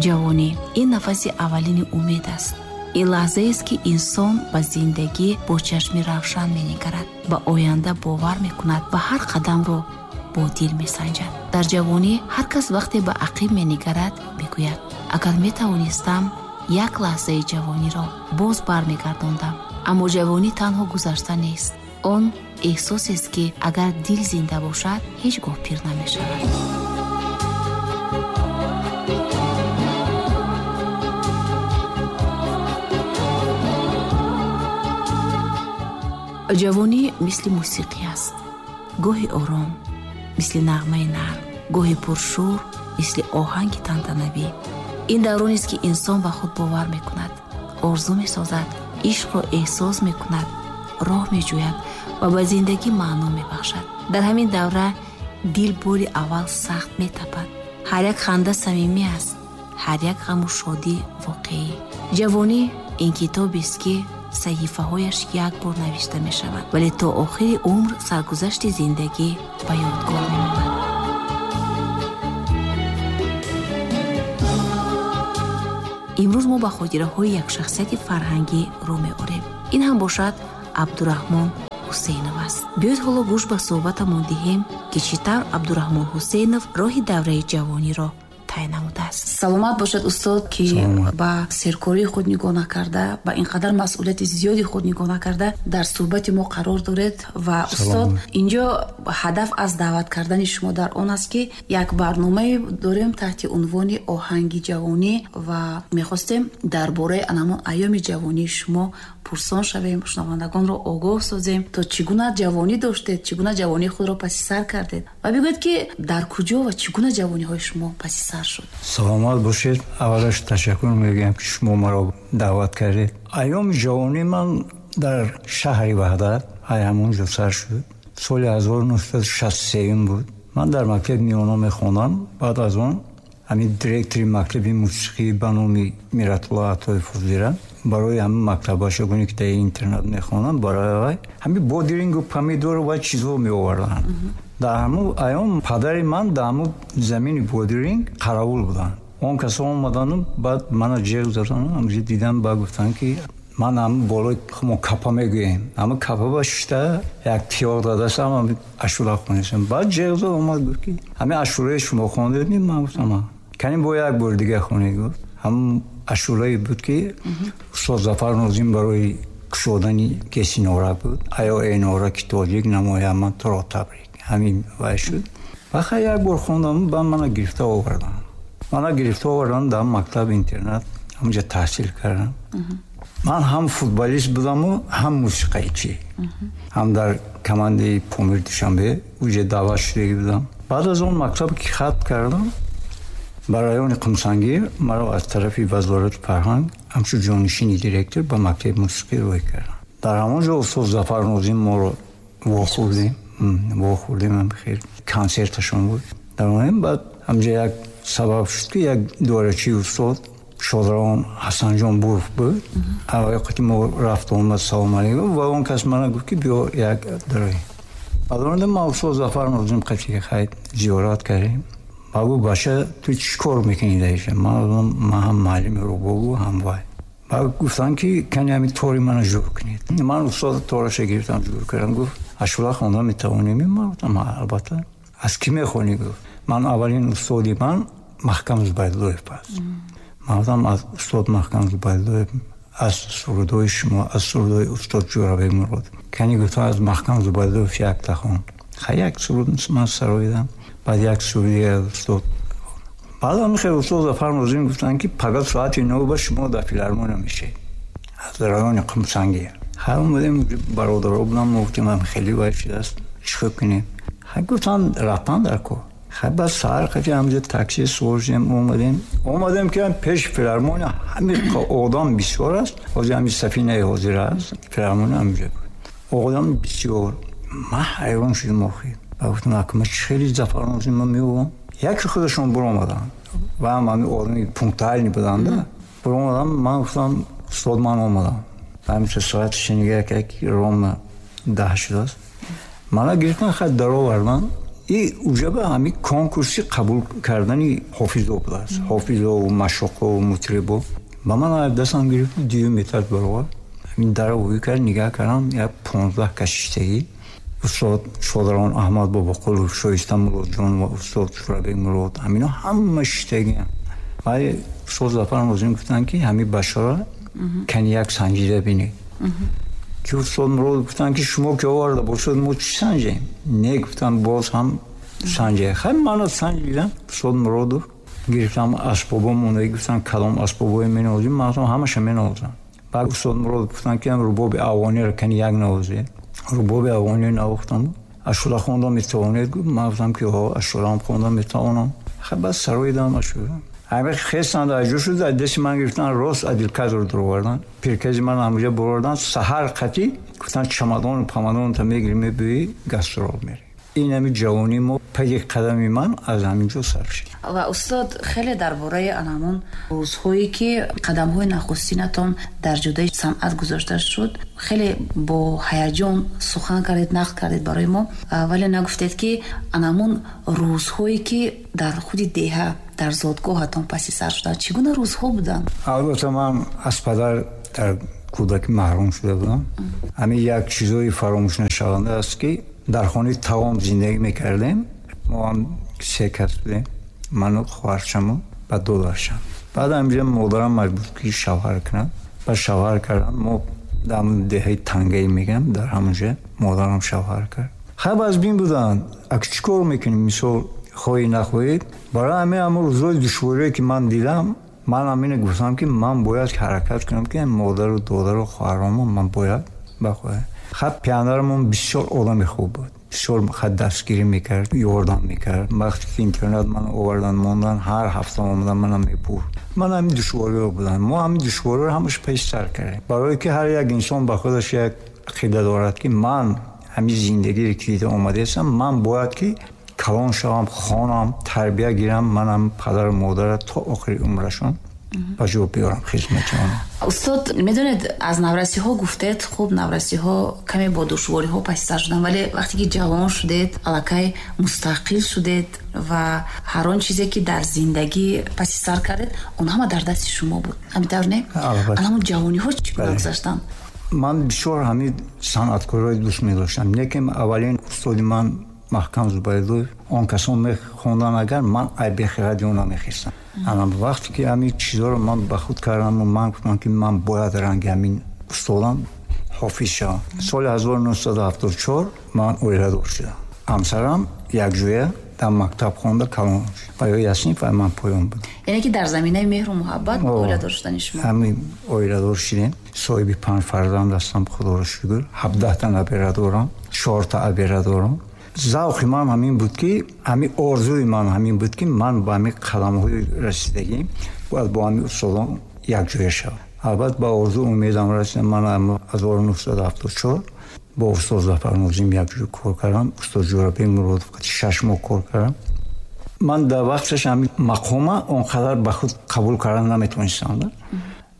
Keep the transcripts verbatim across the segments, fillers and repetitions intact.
Ҷавонӣ ин нафаси аввалини умед аст. Ин лаҳзаест, ки инсон ба зиндагӣ бо чашми равшан менигарад, ба оянда бовар мекунад ва ҳар қадамро бо дил месанҷад. Дар ҷавонӣ ҳар кас вақте ба ақиб менигарад, мегӯяд: агар метавонистам, як лаҳзаи ҷавониро боз бармегардондам. Аммо ҷавонӣ танҳо гузашта нест. Он эҳсосест, ки агар дил зинда бошад, ҳеҷ гоҳ пир намешавад. Ҷавонӣ мисли мусиқӣ аст. Гоҳи ором, мисли нағмаи нарм, гоҳи пуршӯр, мисли оҳанги тантанавӣ. Ин давронест, ки инсон ба худ бовар мекунад, орзу месозад, ишқро эҳсос мекунад, роҳ меҷӯяд ва ба зиндагӣ маъно мебахшад. Дар ҳамин давра дил бори аввал сахт метапад. Ҳар як ханда самимӣ аст, ҳар як ғаму шодӣ воқеӣ. Ҷавонӣ ин китобест, ки саҳифаҳояш як бор навишта мешавад, вале то охири умр саргузашти зиндагӣ ба ёдгор мемонад. Имрӯз мо ба хотираҳои як шахсияти фарҳангӣ рӯ меорем. Ин ҳам бошад Абдураҳмон Ҳусейнов аст. Биёед ҳоло гӯш ба суҳбатамон диҳем, ки чӣ тавр Абдураҳмон Ҳусейнов роҳи давраи ҷавониро тай намудааст. Саломат бошад, устод, ки ба серкории худ нигоҳ накарда, ба ин қадар масъулияти зиёди худ нигоҳ накарда дар суҳбати мо қарор доред. Ва устод, инҷо ҳадаф аз даъват кардани шумо дар он аст, ки як барномае дорем таҳти унвони оҳанги ҷавонӣ ва мехостем дар бораи анамон айёми ҷавонии шумо пурсон шавем, шунавандагонро огоҳ созем, то чӣ гуна ҷавонӣ доштед, чӣ гуна ҷавонии худро паси сар кардед ва бигӯед, ки дар куҷо ва чӣ гуна ҷавониҳои шумо паси сар шуд. Саломат бошед. Аввалаш ташаккур мегӯям, ки шумо маро даъват кардед. Айёми ҷавонии ман дар шаҳри Ваҳдат, ай ҳамон ҷо сар шуд. Соли ҳазору нӯҳсаду шасту сеюм буд. Ман дар мактаби миёна мехондам. Баъд аз он ҳамин директори мактаби мусиқӣ ба номи Миратулло Атоев Фузира барои ҳамин мактабашогоне, ки дар интернат мехонанд, барои вай ҳамин бодирингу помидору ва чизҳо меоварданд. Дар ҳамун айём падари ман дар ҳамун замини бодиринг қаравул буданд. Он касо омадану баъд мана ҷеғ задану ҳамҷо дидам, баъд гуфтанд, ки ман ҳамун болои мо капа мегӯем, ҳамун капа ба шишта як тиёқ дадастам, ҳамин ашура хонестам. Баъд ҷеғ зад, омад, гуфт, ки ҳамин ашураи шумо хондед? Ман гуфтам, каним бо як бор дига хонед. Гуфт, ҳамун ашурае буд, ки устод Зафар Нозим барои кушодани кеси нора буд. Аё эй нора, ки тоҷик намоям, ман туро табрик. Ҳамин вай шуд. Вақте як бор хондам, баъд мана гирифта овардам. Мана гирифта овардам дар мактаб интернат, ҳамонҷо таҳсил кардам. Ман ҳам футболист будаму ҳам мусиқачӣ. Ҳам дар командаи Помир Душанбе уҷа даъват шудагӣ будам. Баъд аз он мактаб ки хатм кардам, ба райони Қумсангир маро аз тарафи вазорати фарҳанг ҳамчун ҷонишини директор ба мактаби мусиқӣ рӯй кардам. Дар ҳамон ҷо устод Зафар Нозим моро вохӯрдем, вохӯрдем, хеле консерташон буд. Дар он баъд ҳамҷо як сабаб шуд, ки як дорачии устод Шодравон Ҳасанҷон Буров буд. Аввал мо рафту омад, салом алейкум, ва он кас мана гуфт, ки биё як дарои. Баъд омадем, ма устод Зафар Нозим қатъи хайр зиёрат кардем. Ба гуфт, бача, ту чӣ кор мекунӣ дар инҷо? Ман ман ҳам муаллими рубобу ҳам вай. Баъд гуфтанд, ки кани ҳамин тори мана ҷур кунед. Ман устод тораша гирифтам, ҷур кардам. Гуфт, ашура хонда метавонем? Ман гуфтам, албатта. Аз кӣ мехонӣ? Гуфт, ман аввалин устоди ман Маҳкам Зубайдуллоев аст. Ман гуфтам, аз устод Маҳкам Зубайдуллоев, аз сурудҳои шумо, аз сурудҳои устод Ҷӯрабек Мурод. Кани гуфтам, аз Маҳкам Зубайдуллоев якта хон. Хай як суруд ман сароидам. Баъд як суруди устод. Баъд ҳам хеле устод Зафар Нозим гуфтанд, ки пагоҳ соати нӯҳ ба шумо дар филармония мешавед аз райони Қумсангир. Хай омадем, бародаро будам, мо гуфтем, ҳам хеле вай шудааст, чӣ кор кунем? Хай гуфтанд, рафтан дар кор. Хай баъд саҳар қати ҳамҷо такси сувор шудем, омадем. Омадем, ки пеши филармония ҳамин одам бисёр аст. Ҳозир ҳамин сафинаи ҳозир аст, филармония ҳамҷо буд. Одам бисёр. Ман ҳайрон шудам охир. Ба гуфтам, акма чӣ хеле Зафар Нозим ман меовам. Яке худашон буромаданд ва ҳам ҳамин одами пунктуальный буданд. Буромадам, ман гуфтам, устод, ман омадам. Ҳаминча соаташ нигаҳ кард, ки ровно даҳ шудааст. Мана гирифтан, хай даровардан. И уҷаба ҳами конкурси қабул кардани ҳофизо будааст. Ҳофизо, машоқо, мутрибо. Ба ман дастам гирифт, дуюм этаж баровард. Ҳамин дара ҳуй кард, нигаҳ кардам, як понздаҳ кас шиштагӣ. Устод Шодарон Аҳмад Бобоқулов, Шоиста Муродҷон ва устод Шурабек Мурод, ҳамино ҳама шиштагиам. Вале устод Зафар Нозим гуфтанд, ки ҳамин башара кани як санҷида бинед. Ки устод Мурод гуфтанд, ки шумо ки оварда бошед, мо чӣ санҷем? Не, гуфтам, боз ҳам санҷе. Хай, мана санҷидам. Устод Муродов гирифтам асбобо мондаги, гуфтам, кадом асбобое менавозем? Ман гуфтам, ҳамаша менавозам. Баъд устод Муродов гуфтанд, ки рубоби афғониро кани як навозед. Рубоби афғониро навохтам. Ашула хондам метавонед? Гуфт. Ман гуфтам, ки ҳо, ашулаам хондам метавонам. Хай, баъд сароидам ашула. Ҳамин хестанд, аҷо шуд, аз дасти ман гирифтан, рост Адилказро дуровардан. Пиркази ман ҳамуҷа бурордан, саҳар қатӣ гуфтанд, чамадону памадонта мегирӣ, мебиёӣ, гастрол мерӣ. Ин ҳами ҷавонии мо, пайи қадами ман аз ҳамин ҷо сар шуд. Ва устод, хеле дар бораи анамон рӯзҳое, ки қадамҳои нахустинатон дар ҷодаи санъат гузошта шуд, хеле бо ҳаяҷон сухан кардед, нақл кардед барои мо, вале нагуфтед, ки анамон рӯзҳое, ки дар худи деҳа, дар зодгоҳатон паси сар шуданд, чӣ гуна рӯзҳо буданд? Албатта, ман аз падар дар кӯдакӣ маҳрум шуда будам. Ҳамин як чизҳои фаромӯшнашаванда аст, ки дар хонаи таом зиндагӣ мекардем. Мо ҳам се кас будем, ману хоҳарчаму ба додарчам. Баъд ҳаминҷа модарам маҷбур ки шавҳар кунад. Баъд шавҳар кардан, мо дар деҳаи Тангаӣ мегӯям, дар ҳамонҷа модарам шавҳар кард. Хай, аз бин буданд, ак чӣ кор мекунем, мисол, хоҳӣ нахоҳед. Барои ҳамин ҳамон рӯзҳои душворие, ки ман дидам, ман ҳамина гуфтам, ки ман бояд ҳаракат кунам, ки модару додару хоҳаромо ман бояд бахоҳам. Хай, пиандарамон бисёр одами хуб буд, бисёр хай дастгирӣ мекард, ёрдам мекард. Вақте ки интернат ман овардан мондан, ҳар ҳафта омадан мана мепурд. Ман ҳамин душвориҳо буданд. Мо ҳамин душвориҳоро ҳамаш пеши сар кардем, барое ки ҳар як инсон ба худаш як ақида дорад, ки ман ҳамин зиндагире ки дида омадаастам, ман бояд ки калон шавам, хонам, тарбия гирам, манам падару модара то охири умрашон ба ҷо биёрам хизмати онҳо. Устод, медонед, аз наврасиҳо гуфтед. Хуб, наврасиҳо каме бо душвориҳо паси сар шуданд, вале вақте ки ҷавон шудед, аллакай мустақил шудед ва ҳар он чизе, ки дар зиндагӣ паси сар кардед, он ҳама дар дасти шумо буд. Ҳамин тавр, не? Ҳамон ҷавониҳо чӣ гуна гузаштанд? Ман бисёр ҳамин санъаткорҳои дӯст медоштам. Лекин аввалин устоди ман Маҳкам Зубайдуллоев, он касон мехонданд, агар ман айбехи радио намехестам. Ана вақте ки ҳамин чизҳоро ман ба худ кардаму ман гуфтам, ки ман бояд ранги ҳамин устодам ҳофиз шавам. Соли ҳазору нӯҳсаду ҳафтоду чор ман оиладор шудам. Ҳамсарам якҷоя дар мактаб хонда калон шуд. Ва ё ясниф, ва ман поён будам. Яъне ки дар заминаи меҳру муҳаббат оиладор шудани шумо? Ҳамин оиладор шудем. Соҳиби панҷ фарзанд ҳастам, худоро шукр. Ҳабдаҳта набера дорам, чорта абера дорам. Завқи ман ҳамин буд, ки ҳамин орзуи ман ҳамин буд, ки ман ба ҳамин қадамҳои расидагӣ бояд бо ҳамин устодон якҷоя шавам. Албатта, ба орзу умедам расидам. Ман ҳазору нӯҳсаду ҳафтоду чор бо устод Зафар Нозим якҷоя кор кардам. Устод Ҷӯрабек Муродов шаш моҳ кор кардам. Ман дар вақташ ҳамин мақома он қадар ба худ қабул кардан наметавонистам.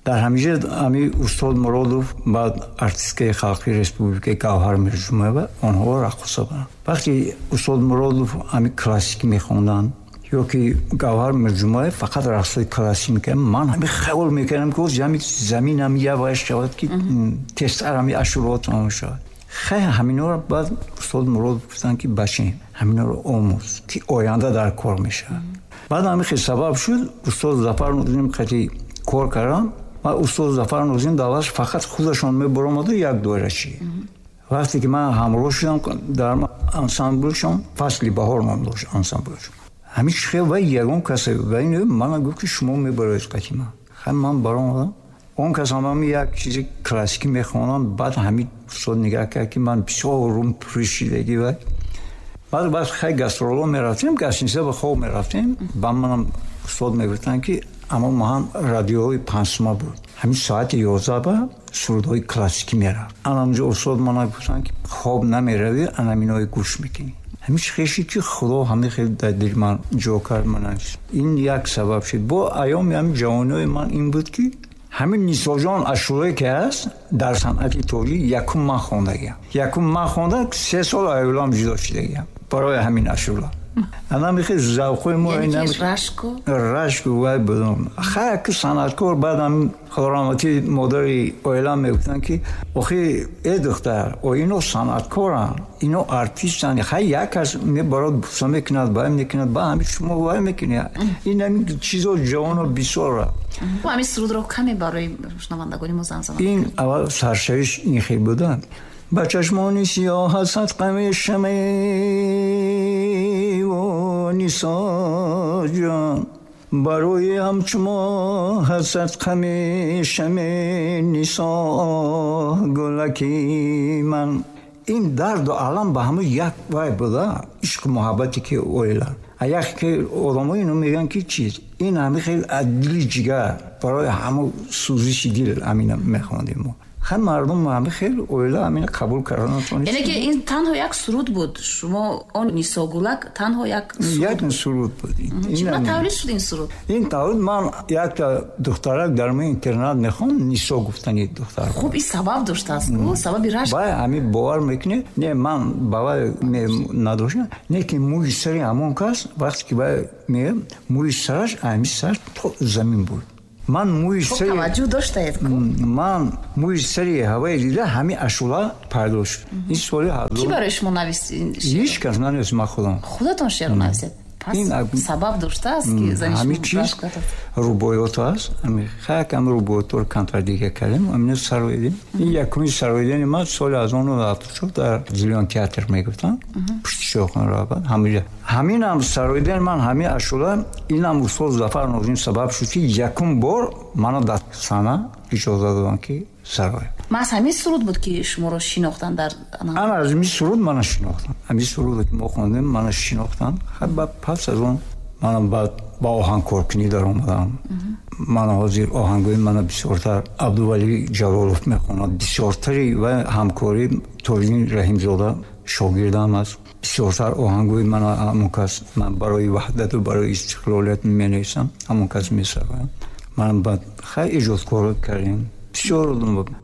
Дар ҳаминҷа ҳамин устод Муродов, баъд артисткаи халқи республикаи Гавҳар Мирҷумаева, онҳо раққоса буданд. Вақте устод Муродов ҳамин классикӣ мехонданд ё ки Гавҳар Мирҷумаев фақат рақсҳои классикӣ мекарданд, ман ҳамин хаёл мекардам, ки ҳамин замин ҳам яваш шавад, ки тезтар ҳамин ашуроҳо тамом шавад. Хай, ҳаминҳоро баъд устод Муродов гуфтанд, ки бачем, ҳаминҳоро омӯз, ки оянда дар кор мешавад. Баъд ҳамин хел сабаб шуд, устод Зафар Нозим қати кор кардам. Ва устод Зафар Нозим давлаш фақат худашон мебаромаду як доирачӣ. Вақте ки ман ҳамроҳ шудам дар ансамблшон, Фасли баҳор ном дошт ансамблшон, ҳамин хел ва ягон касе ва ин мана гуфт, ки шумо мебароед қати ман. Хай, ман баромадам. Он кас ҳам ҳамин як чизи классикӣ мехонам. Баъд ҳамин устод нигаҳ кард, ки ман бисёр рум пуршидагӣ. Ва баъд баъд хай, гастроло мерафтем, гостиница ба хоб мерафтем. Ба манам устод мегуфтанд, ки аммо ма ҳам радиои панҷсума буд, ҳамин соати ёздаҳ ба сурудҳои классикӣ мерафт. Анамҷо устод мана гуфтанд, ки хоб намеравӣ, анаминои гӯш мекунӣ. Ҳамин хеши ки худо ҳамин хел дар дили ман ҷо кард. Мана ин як сабаб шуд. Бо айёми ҳамин ҷавониҳои ман ин буд, ки Ҳамин Нисоҷон ашӯрае ки ҳаст дар санъати тоҷик якум ман хондагиам. Якум ман хонда се сол оилам ҷудо шудагиам барои ҳамин ашӯра. Ана михе завқои мо рашку рашку вай будам. Хай ки санъаткор баъдам худо раҳматӣ модари оилам мегуфтанд ки охи э духтар, о ино санъаткоранд, ино артистанд, хай як кас мебарад буса мекунад, вай мекунад, ба ҳамин шумо вай мекунед. Ин ҳамин чизо ҷавоно бисёр. Ҳамин сурудро каме барои шунавандагони мо замзама. Ин аввал саршавиш ин хел буда. Ба чашмони сиёҳ садқа мешавӣ Нисоҷон, барои ҳамчу мо садқа мешавӣ Нисо гулаки ман. Ин дарду алам ба ҳама як вай буда, ишқу муҳаббате ки оила. А як ки одамо ино мегӯянд ки чиз, ин ҳами хел аз дили ҷигар барои ҳама сӯзиши дил ҳамина мехондем мо. Ҳам мардум ҳами хел оила ҳамина қабул кардан натавонист. Яъне ки ин танҳо як суруд буд. Шумо он Нисогулак танҳо як суруд, як суруд буд. Чӣ гуна тавлид шуд ин суруд? Ин тавлид ман якта духтарак дар мо интернат мехонд, Нисо гуфтани духтар. Хуб, ин сабаб доштааст, сабаби рашк. Бай ҳамин бовар мекунед? Не, ман бовар надоштам. Не ки мӯи сари ҳамон кас вақте ки бай меям, мӯи сараш ҳамин сар то замин буд. Ман мӯи сари таваҷҷӯҳ доштаед ку? Ман мӯи сари ҳавои дида ҳамин ашӯла пайдо шуд. Ин соли ҳазор. Кӣ барои шумо навист ин шеър? Ҳеҷ кас нанавист, ман худам. Худатон шеърро нависед? Пас сабаб доштааст ки зани шумо рашк кардааст? Рубоиёт аст. Ҳамин якам рубоиётро камтар дига кардем, ҳамина сароидем. Ин якумин сароидани ман соли ҳазору нӯҳсаду ҳафтоду чор дар Зилён театр мегуфтанд, пушти Шоҳхон раҳбар. Ҳаминҷа ҳаминам сароидани ман ҳамин ашӯла, инам устод Зафар Нозим сабаб шуд ки якум бор мана дар саҳна иҷоза доданд ки сароям. Маҳз ҳамин суруд буд ки шуморо шинохтанд дар ана аз ҳамин суруд мана шинохтанд. Ҳамин суруде ки мо хондем мана шинохтанд. Пас аз он манам баъд ба оҳангкоркунӣ даромадам. Мана ҳозир оҳангои мана бисёртар Абдувалӣ Ҷалолов мехонад, бисёртари ва ҳамкорӣ Тоҷиддин Раҳимзода шогирдам аст. Бисёртар оҳангои мана ҳамон кас ман барои ваҳдату барои истиқлолият менависам, ҳамон кас месароям. Манам баъд хай эҷодкор кардем. Бисёр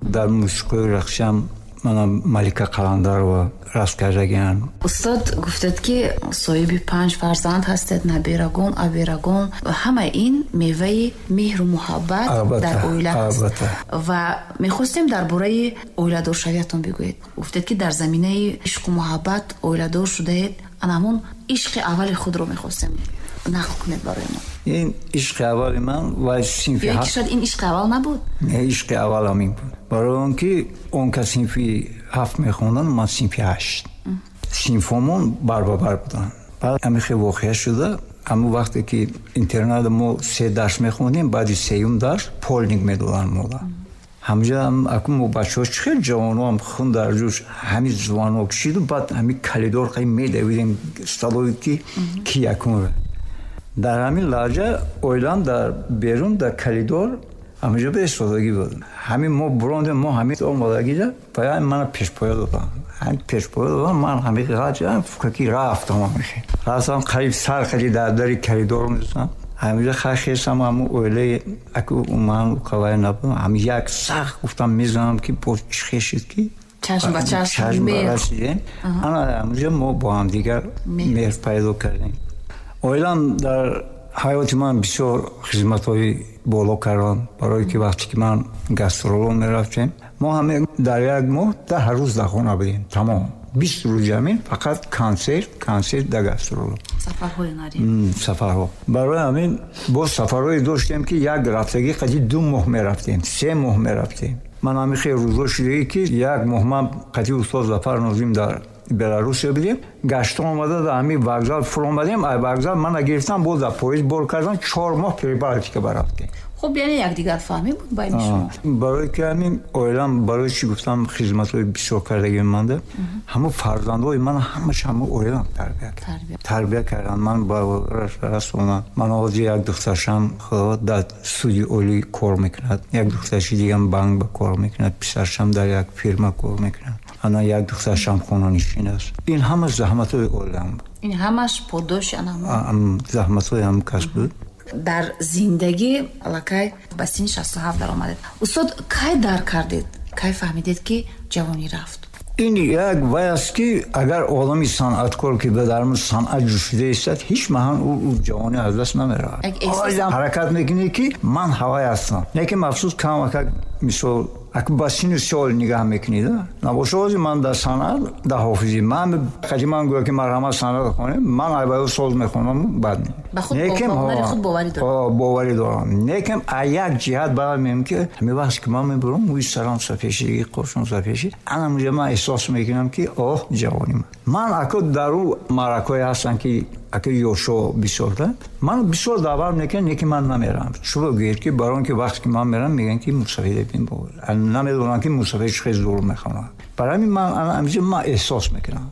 дар мусиқии рақсиам манам Малика Қаландарова раст кардагиам. Устод, гуфтед ки соҳиби панҷ фарзанд ҳастед, набирагон, абирагон. Ҳама ин меваи меҳру муҳаббат дар оила аст. Ва мехостем дар бораи оиладоршавиятон бигӯед. Гуфтед ки дар заминаи ишқу муҳаббат оиладор шудаед. Ана ҳамон ишқи аввали худро мехостем нақл кунед барои мо. Ин ишқи аввали ман ва синфи ҳафт. Ё шояд ин ишқи аввал набуд? Не, ишқи аввалам ин буд. Барои он ки он кас синфи ҳафт мехонданд, ман синфи ҳашт. Синфомон барбабар буданд. Баъд ҳамин хел воқеа шуда, ҳамон вақте ки интернат мо се дарс мехондем, баъди сеюм дарс полник медоданд мода. Ҳамҷа акун мо бачаҳо чӣ хел ҷавоноам хун дар ҷӯш ҳамин звонок шиду баъд ҳамин калидор қай медавидем столовой ки ки якумра. Дар ҳамин лаҳза оилам дар берун дар калидор ҳаминҷо ба истодагӣ буд. Ҳамин мо бурондем, мо ҳамин омодагида пая мана пешпоя додам. Ҳамин пешпоя додам, ман ҳамин ғаҷам фукаки рафтам ҳамин. Рафтам қариб сар қади дар дари калидор мезанам. Ҳаминҷо хай хесам ҳамун оилаи аку ман қавай набудам. Ҳамин як сахт гуфтам мезанам ки боз чӣ хешид ки чашм ба чашм расидем. Ана ҳаминҷо мо бо ҳамдигар меҳр пайдо кардем. Оилам дар ҳаёти ман бисёр хизматҳои боло карданд, барое ки вақте ки ман гастроло мерафтем, мо ҳама дар як моҳ даҳ рӯз дар хона будем, тамом. Бист рӯзи ҳамин фақат консерт, консерт дар гастроло. Сафарҳои ҳунарӣ. Сафарҳо. Барои ҳамин боз сафарҳое доштем ки як рафтагӣ қади ду моҳ мерафтем, се моҳ мерафтем. Ман ҳамин хел рӯзо шудагӣ ки як моҳ ман қади устод Зафар Нозим дар Беларусия будем, гашта омада дар ҳамин вокзал фуромадем, ай вокзал мана гирифтам, боз дар поезд бор кардам, чор моҳ Прибалтика барафтем. Хуб, яъне якдигарфаҳмӣ буд байни шумо? Барои ки ҳамин оилам, барои чӣ гуфтам хизматҳои бисёр кардагии манда, ҳамон фарзандҳои ман ҳамаш ҳамон оилам тарбия кард. Тарбия карданд, ман ба расонам. Ман ҳозир як духтаршам худо дар суди олӣ кор мекунад, як духтарши дигам банк ба кор мекунад, писаршам дар як фирма кор мекунад. Ана як духтаршам хонанишин аст. Ин ҳама заҳматҳои оилам буд. Ин ҳамаш подоши ана заҳматҳои ҳам кас буд. Дар зиндагӣ аллакай ба синни шасту ҳафт даромадед. Устод, кай дарк кардед, кай фаҳмидед, ки ҷавонӣ рафт? Ин як вай аст, ки агар одами санъаткор, ки ба даруни санъат ҷӯшида истад, ҳеҷ маҳал ӯ ҷавонӣ аз даст намеравад. Ҳаракат мекунӣ, ки ман ҳавай ҳастам. Лекин махсус камакак, мисол, аку ба синну сол нигаҳ мекунӣ, да набоша. Ҳозир ман дар санъат, дар ҳофизӣ, ман қади ман гӯя, ки марҳамат, санъат хонем, ман айбаё соз мехонам, бад боварӣ дорам. Лекин а як ҷиҳат баъд мегӯям, ки ҳамин вақте ки ман мебурам, мӯи сарам сафеши, қошам сафеши, анамуҷа ман эҳсос мекунам, ки оҳ, ҷавонӣ ман. Ман аку дар ӯ маъракое ҳастам, ки ака ёшо бисёр, да ман бисёр даъват мекунам, лекин ман намерам. Чӯба гӯед, ки барои он ки вақте ки ман мерам, мегӯянд, ки мусафеда бин, намедонам, ки мусафед чӣ хел зур мехонад. Барои ҳамин ман ҳамиҷа ман эҳсос мекунам.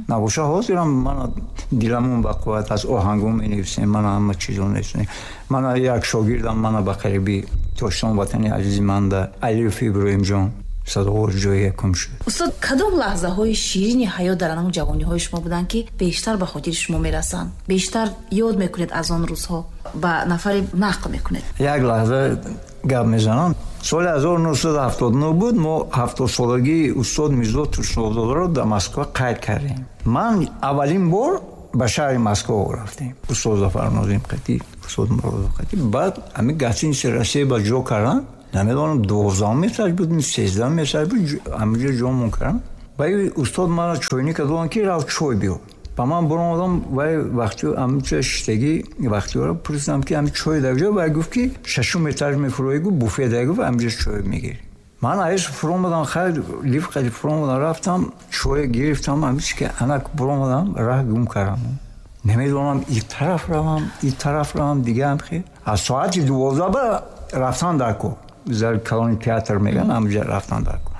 Набоша, ҳозирам ман диламон ба қувват аз оҳангом менависем, мана ҳама чизо нависем. Мана як шогирдам мана ба қариби Тоҷикистон, ватани азизи манда, Алиев Иброҳимҷон сазовор ҷои якум шуд. Устод, кадом лаҳзаҳои ширини ҳаёт дар анам ҷавониҳои шумо буданд, ки бештар ба хотири шумо мерасанд, бештар ёд мекунед аз он рӯзҳо, ба нафаре нақл мекунед? Як лаҳза гап мезанам. Соли ҳазору нӯҳсаду ҳафтоду нӯҳ буд, мо ҳафтодсолагии устод Мирзо Турсунзодаро дар Москва қайд кардем. Ман аввалин бор ба шаҳри Москва рафтем, устод Зафар Нозим қатӣ, устод Муродов қатӣ. Баъд ҳамин гостиница Россия ба ҷо кардам, намедонам, дувоздаҳум этаж буд, сездаҳум этаж буд, ҳаминҷо ҷомон кардам. Вай устод мана чойника доданд, ки рав, чой биё. Ба ман баромадам, вай вақти ҳаминҷо шиштагӣ вақтиёро пурсидам, ки ҳамин чой дар ҷо. Вай гуфт, ки шашум этаж мефуроӣ, гуфт, буфет дар, гуфт, ҳаминҷо чой мегирӣ. Ман аис фуромадам, хайр, лифт қади фуромадам, рафтам, чой гирифтам. Ҳамин ки анак буромадам, раҳ гум кардам, намедонам и тараф равам, и тараф равам. Дигаам хел аз соати дувоздаҳ ба рафтан дар кор, зали калони театр меган, ҳаминҷа рафтан дар кор.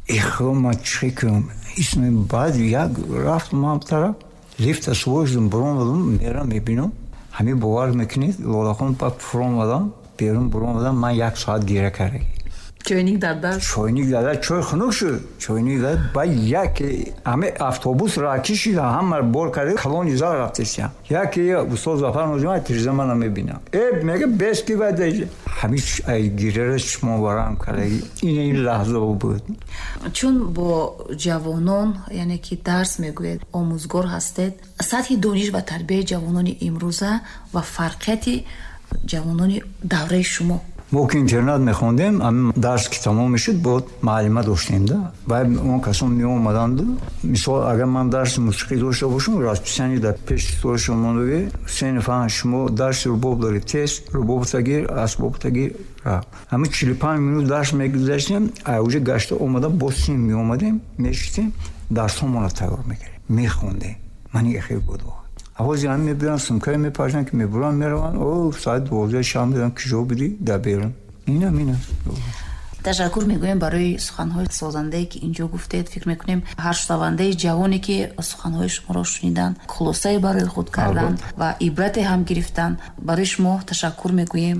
Э худо, ман чӣ кунам? Исми баъд як рафтам ҳам тараф, лифта сувор шудам, буромадам, мерам, мебинам, ҳамин, бовар мекунед, Лолахон, ба фуромадам, берун буромадам, ман як соат гира кардагӣ. Чойник дар даст. Чойник дар даст, чой хунук шуд, чойник дар. Ба яке ҳаме автобус ра кишида, ҳама бор карда, калони зал рафтесиям. Яке устод Зафар Нозим тиреза мана мебинам, э мега, бес ки вай ҳамин гирера чишмон варам кардагӣ. Ин ин лаҳза буд. Чун бо ҷавонон, яъне ки дарс мегӯед, омӯзгор ҳастед, сатҳи дониш ва тарбияи ҷавонони имрӯза ва фарқияти ҷавонони давраи шумо? Мо ки интернат мехондем, ҳамин дарс ки тамом мешуд, бо муаллима доштем, да вай он касон меомаданду. Мисол, агар ман дарси мусиқӣ дошта бошам, расписание дар пеши столашон мондаги: сенфан, шумо дарси рубоб доред, тез рубобта гир, асбобта гир, рафт. Ҳамин чилу панҷ минут дарс мегузаштем, уже гашта омада, боз син меомадем, мешистем, дарсҳомонро тайёр мекардем, мехондем. Ман хел буд. Ҳозир ҳам мебиран, сумкае мепаршанд, ки мебуранд, мераванд. О, соати дувоздаҳи шаб медонам, ки ҷо будӣ дар берун. Инам ин аст. Ташаккур мегӯем барои суханҳои созандае, ки инҷо гуфтед. Фикр мекунем, ҳар шунавандаи ҷавоне, ки суханҳои шуморо шуниданд, хулосае барои худ карданд ва ибрате ҳам гирифтанд. Барои шумо ташаккур мегӯем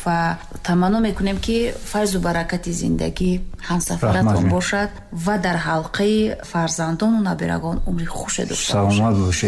ва таманно мекунем, ки файзу баракати зиндагӣ ҳамсафаратон бошад ва дар ҳалқаи фарзандону набирагон умри хуше дошта Саломат бошед.